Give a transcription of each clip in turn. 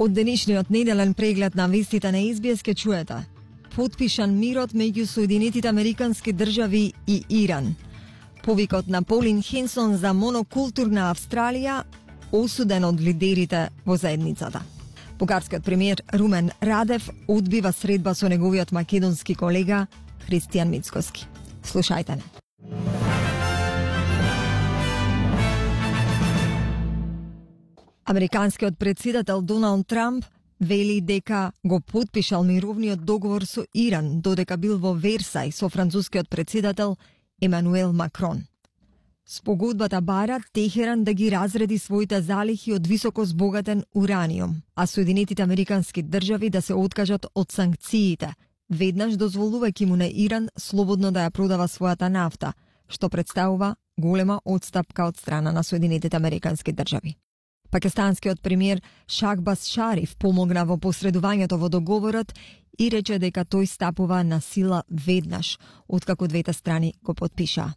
Од денешниот неделен преглед на вестите на СБС ке чуете: потпишан мирот меѓу Соединетите Американски држави и Иран. Повикот на Полин Хенсон за монокултурна Австралија осуден од лидерите во заедницата. Бугарскиот премиер Румен Радев одбива средба со неговиот македонски колега Христијан Мицкоски. Слушајте не. Американскиот председател Доналд Трамп вели дека го потпишал мировниот договор со Иран, додека бил во Версај со францускиот председател Емануел Макрон. Спогодбата бара Техеран да ги разреди своите залихи од високо збогатен ураниум, а Соединетите Американски држави да се откажат од санкциите, веднаш дозволувајќи му на Иран слободно да ја продава својата нафта, што представува голема одстапка од страна на Соединетите Американски држави. Пакистанскиот премиер Шахбаз Шариф помогна во посредувањето во договорот и рече дека тој стапува на сила веднаш, откако двете страни го потпишаа.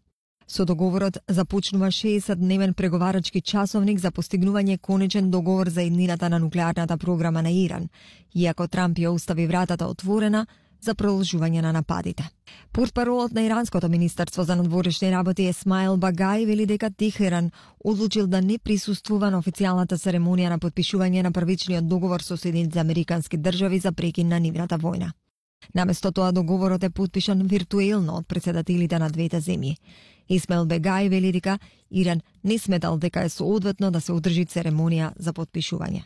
Со договорот започнува 60-дневен преговарачки часовник за постигнување конечен договор за иднината на нуклеарната програма на Иран, иако Трамп ја остави вратата отворена за продолжување на нападите. Портпаролот на Иранското министерство за надворешни работи Есмаил Багај вели дека Техеран одлучил да не присуствува на официјалната церемонија на потпишување на првичниот договор со Соединетите Американски држави за прекин на нивната војна. Наместо тоа договорот е потпишан виртуелно од председателите на двете земји. Исмаил Багај вели дека Иран не сметал дека е соодветно да се одржи церемонија за потпишување.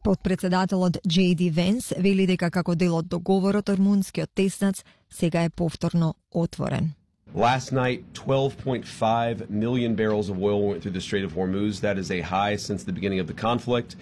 Подпредседателот J.D. Венс вели дека како дел од договорот румунскиот теснац сега е повторно отворен. Last night, 12.5 million barrels of oil went through the Strait of Hormuz. That is a high since the beginning of the conflict.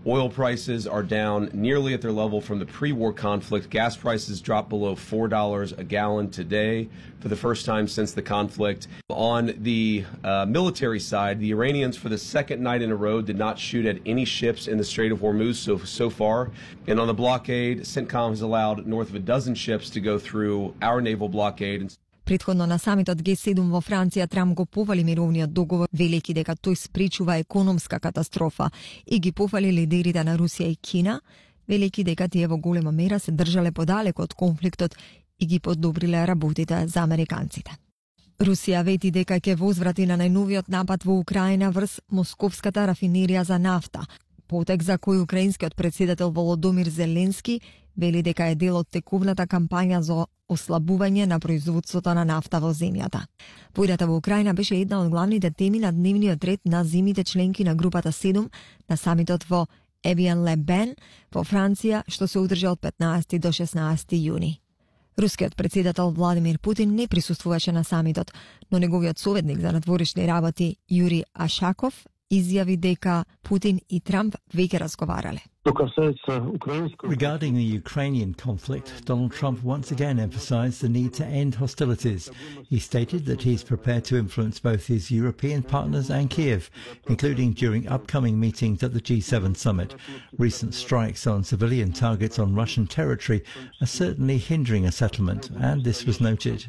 Oil prices are down nearly at their level from the pre-war conflict. Gas prices dropped below $4 a gallon today for the first time since the conflict. On the military side, the Iranians for the second night in a row did not shoot at any ships in the Strait of Hormuz so far. And on the blockade, CENTCOM has allowed north of a dozen ships to go through our naval blockade. Претходно на самитот Г7 во Франција Трамп го пофали мировниот договор, велејќи дека тој спречува економска катастрофа и ги пофали лидерите на Русија и Кина, велејќи дека тие во голема мера се држале подалеку од конфликтот и ги подобриле работите за американците. Русија вети дека ќе возврати на најновиот напад во Украина врз московската рафинерија за нафта, потек за кој украинскиот председател Володомир Зеленски вели дека е дел од текувната кампања за ослабување на производството на нафта во земјата. Војната во Украина беше една од главните теми на дневниот ред на земите членки на групата 7 на самитот во Евиен-ле-Бен во Франција, што се одржа од 15 до 16 јуни. Рускиот председател Владимир Путин не присуствуваше на самитот, но неговиот советник за надворешни работи Јури Ашаков изјави дека Путин и Трамп веќе разговарале. Regarding the Ukrainian conflict, Donald Trump once again emphasized the need to end hostilities. He stated that he's prepared to influence both his European partners and Kiev, including during upcoming meetings at the G7 summit. Recent strikes on civilian targets on Russian territory are certainly hindering a settlement, and this was noted.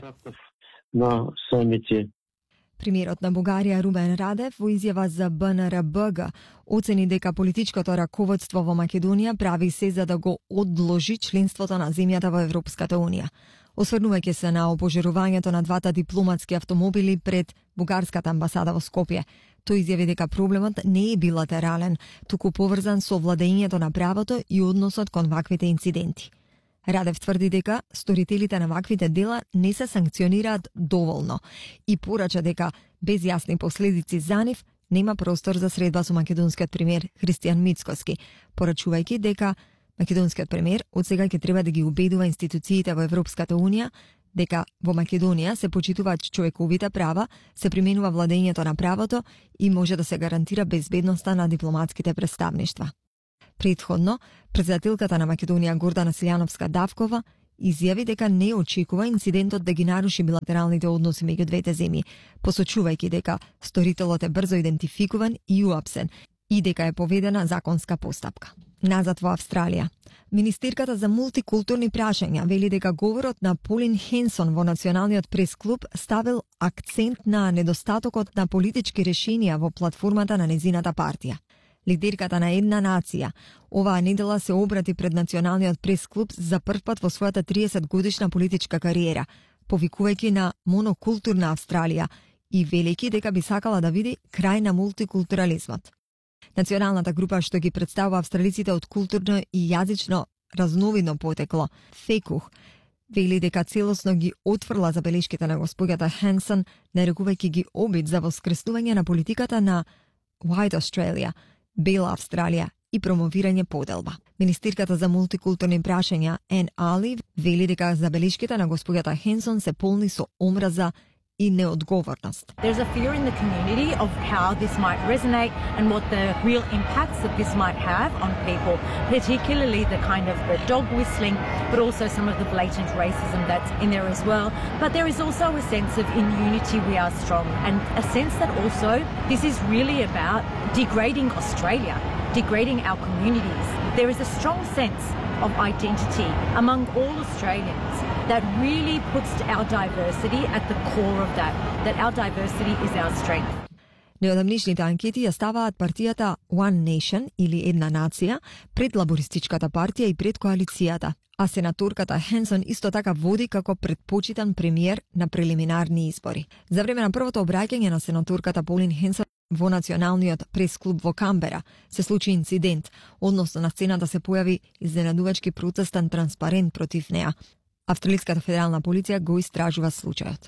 Премиерот на Бугарија Румен Радев во изјава за БНР-БГ оцени дека политичкото раководство во Македонија прави се за да го одложи членството на земјата во Европската Унија. Осврнувајќи се на опожарувањето на двата дипломатски автомобили пред бугарската амбасада во Скопје, тој изјави дека проблемот не е билатерален, туку поврзан со владењето на правото и односот кон ваквите инциденти. Радев тврди дека сторителите на ваквите дела не се санкционираат доволно и порача дека без јасни последици за нив нема простор за средба со македонскиот премиер Христијан Мицкоски, порачувајќи дека македонскиот премиер од сега ќе треба да ги убедува институциите во Европската Унија дека во Македонија се почитуваат човековите права, се применува владењето на правото и може да се гарантира безбедноста на дипломатските представништва. Предходно, председателката на Македонија Гордана Силјановска-Давкова изјави дека не очекува инцидентот да ги наруши билатералните односи меѓу двете земји, посочувајќи дека сторителот е брзо идентификуван и уапсен и дека е поведена законска постапка. Назад во Австралија. Министерката за мултикултурни прашања вели дека говорот на Полин Хенсон во Националниот прес-клуб ставил акцент на недостатокот на политички решенија во платформата на незината партија. Лидерката на една нација оваа недела се обрати пред Националниот прес-клуб за прв пат во својата 30-годишна политичка кариера, повикувајќи на монокултурна Австралија и велики дека би сакала да види крај на мултикултурализмот. Националната група што ги представува австралиците од културно и јазично разновидно потекло, ФЕКУХ, вели дека целосно ги отфрла забелешките на госпоѓата Хенсон, нарекувајќи ги обид за воскреснување на политиката на White Australia, Бела Австралија и промовирање поделба. Министерката за мултикултурни прашања Ен Али вели дека забелешките на госпоѓата Хенсон се полни со омраза и неодговорност. There's a fear in the community of how this might resonate and what the real impacts that this might have on people, particularly the kind of the dog whistling, but also some of the blatant racism that's in there as well. But there is also a sense of in unity we are strong, and a sense that also this is really about degrading Australia, degrading our communities. There is a strong sense of identity among all Australians that really puts our diversity at the core of that our diversity is our strength. Неодамнишните анкети ја ставаат партијата One Nation или Една нација пред лабористичката партија и пред коалицијата, а сенаторката Хенсон исто така води како предпочитан премиер на прелиминарни избори. За време на првото обраќање на сенаторката Полин Хенсон во Националниот прес-клуб во Камбера се случи инцидент, односно на сцената се појави изненадувачки протестен транспарент против неа. Австралиската федерална полиција го истражува случајот.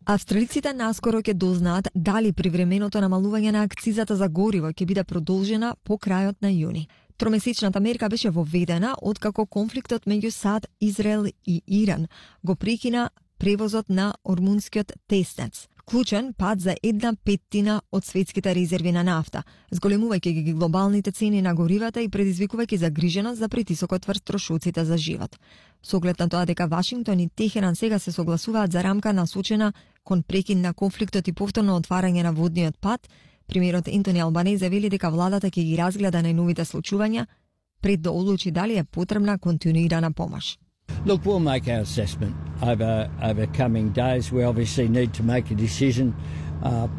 Австралиците наскоро ќе дознаат дали привременото намалување на акцизата за гориво ќе биде продолжена по крајот на јуни. Тромесечната мерка беше воведена откако конфликтот меѓу САД, Израел и Иран го прекина превозот на ормунскиот теснец, клучен пат за 1/5 од светските резерви на нафта, зголемувајќи ги глобалните цени на горивата и предизвикувајќи загриженост за притисокот врз трошоците за живот. Со оглед на тоа дека Вашингтон и Техеран сега се согласуваат за рамка насочена кон прекин на конфликтот и повторно отварање на водниот пат, премиерот Ентони Албанезе вели дека владата ќе ги разгледа најновите случувања пред да одлучи дали е потребна континуирана помош. Look, we'll make our assessment over coming days. We obviously need to make a decision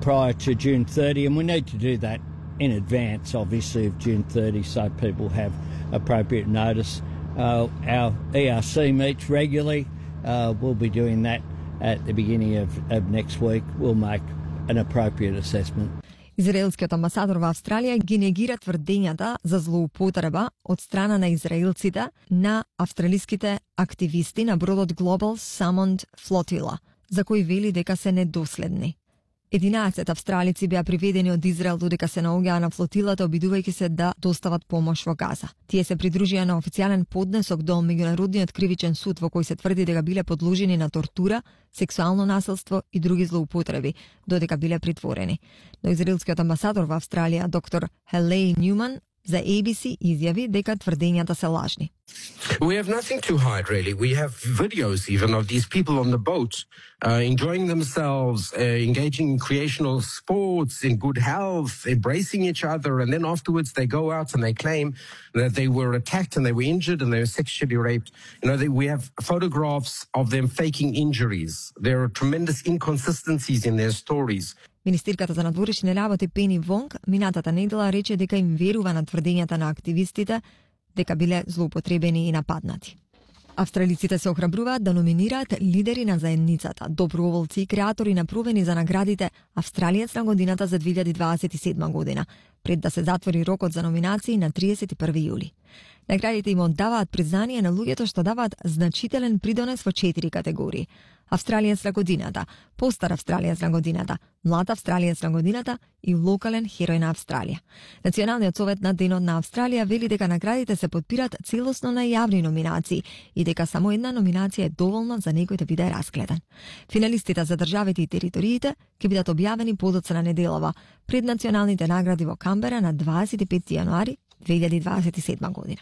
prior to June 30, and we need to do that in advance, obviously, of June 30, so people have appropriate notice. Our ERC meets regularly. We'll be doing that at the beginning of next week. We'll make an appropriate assessment. Израелскиот амбасадор во Австралија ги негира тврдењата за злоупотреба од страна на израелците на австралиските активисти на бродот Global Salmon Flotilla, за кои вели дека се недоследни. 11 австралици беа приведени од Израел додека се наоѓаа на флотилата, обидувајќи се да достават помош во Газа. Тие се придружија на официјален поднесок до Меѓународниот кривичен суд во кој се тврди дека биле подложени на тортура, сексуално насилство и други злоупотреби, додека биле притворени. Но израелскиот амбасадор во Австралија, доктор Хелей Ньюман, за ABC изјави дека тврдењата се лажни. We have nothing to hide, really. We have videos even of these people on the boat enjoying themselves, engaging in recreational sports, in good health, embracing each other, and then afterwards they go out and they claim that they were attacked and they were injured and they were sexually raped. You know, we have photographs of them faking injuries. There are tremendous inconsistencies in their stories. Министерката за надворешни работи Пени Вонг минатата недела рече дека им верува на тврдењата на активистите дека биле злоупотребени и нападнати. Австралиците се охрабруваат да номинираат лидери на заедницата, доброволци и креатори на провени за наградите Австралиец на годината за 2027 година, пред да се затвори рокот за номинации на 31 јули. Наградите им оддаваат признание на луѓето што даваат значителен придонес во 4 категории: Австралиец на годината, постар Австралиец на годината, млад Австралиец на годината и локален херој на Австралија. Националниот совет на Денот на Австралија вели дека наградите се подпират целосно на јавни номинации и дека само една номинација е доволна за некој да биде расгледан. Финалистите за државите и териториите ќе бидат објавени подоцна неделова пред националните награди во Камбера на 25 јануари 2027 година.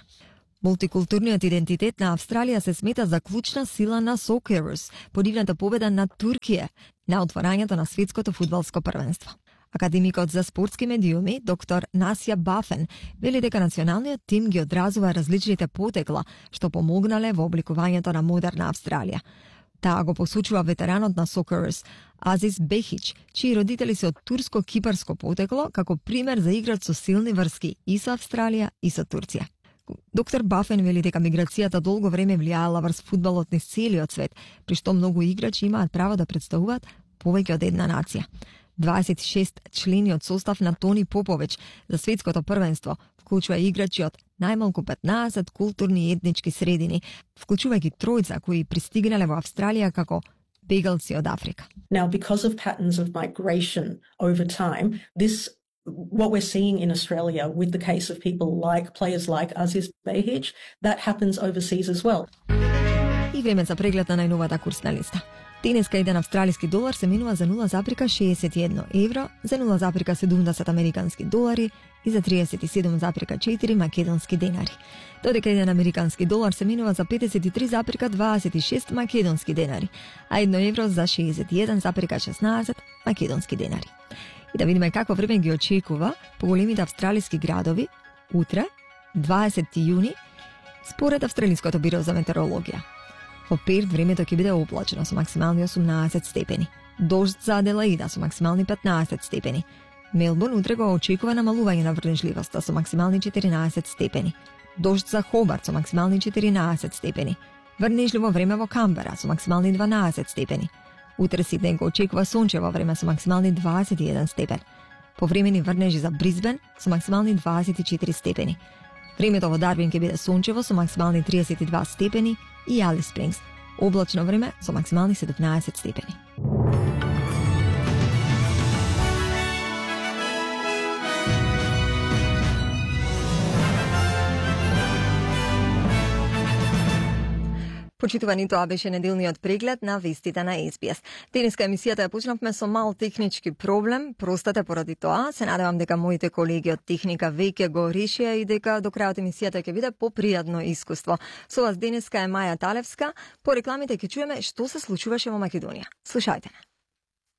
Мултикултурниот идентитет на Австралија се смета за клучна сила на Socceroos, по нивната победа над Туркија на отворањето на светското фудбалско првенство. Академикот за спортски медиуми, доктор Насија Бафен, вели дека националниот тим ги одразува различните потекла што помогнале во обликувањето на модерна Австралија. Таа го посочува ветеранот на Socceroos Азис Бехич, чии родители се од турско-кипарско потекло, како пример за играч со силни врски и со Австралија и со Турција. Доктор Бафен вели дека миграцијата долго време влијаела врз фудбалот низ целиот свет, при што многу играчи имаат право да представуваат повеќе од една нација. 26 члени од состав на Тони Попович за светското првенство вклучува играчи од најмалку 15 културни и етнички средини, вклучувајќи тројца кои пристигнале во Австралија како бегалци од Африка. Now, because of patterns of migration over time, what we're seeing in Australia with the case of players like Aziz Behich, that happens overseas as well. И време за преглед на најновата курсна листа. Денеска еден австралиски долар се менува за 0,61 евро, за 0,70 американски долари и за 37,4 македонски денари. Додека еден американски долар се менува за 53,26 македонски денари, а 1 евро за 61,16 македонски денари. И да видиме какво време ги очекува по големите австралиски градови утре, 20 јуни, според Австралиското биро за метеорологија. Во Перт времето ќе биде облачно со максимални 18 степени. Дожд за Аделаида со максимални 15 степени. Мелбурн утре го очекува намалување на врнежливоста со максимални 14 степени. Дожд за Хобарт со максимални 14 степени. Врнежливо време во Камбера со максимални 12 степени. Утре Сиднеј го очекува сончево време со максимални 21 степен. Повремени врнежи за Брисбен со максимални 24 степени. Времето во Дарвин ќе биде сончево со максимални 32 степени и Алис Спрингс облачно време со максимални 17 степени. Почитувани, тоа беше неделниот преглед на вестите на SBS. Денеска емисијата ја почнавме со мал технички проблем, простете поради тоа. Се надевам дека моите колеги од техника веќе го решија и дека до крајот емисијата ќе биде попријатно искуство. Со вас денеска е Маја Талевска. По рекламите ќе чуеме што се случуваше во Македонија. Слушајте не.